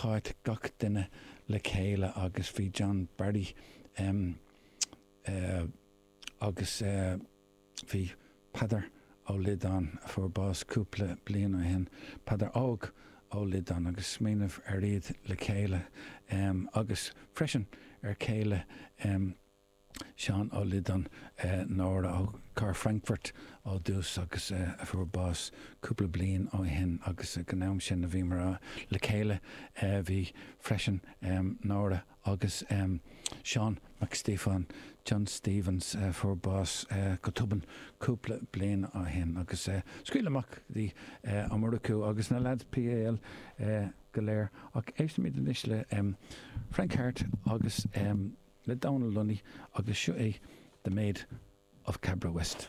Cáit, gach duine le chéile agus bhí John Barry agus bhí Peadar Ó Loideáin, a fuair bás cúpla bliain ó shin, Peadar Óg Ó Loideáin, agus smaoineamh ar iad le chéile agus freisin ar chéile Seán Ó Loideáin, Nóra ó Chathair Frankfurt ó dtús agus a fuair bás cúpla bliain ó shin agus ag an am sin a bhíomar le chéile bhí freisin Nóra agus Seán Mac Stíofáin, John Stephens, a fuair bás go tobann cúpla bliain ó shin agus scaoil amach go dtí Ó Murchú agus na leaids PAL go léir ach éistfimid anois le Frank Harte agus le Dónal Lunny agus seo é The Maid of Cabra West.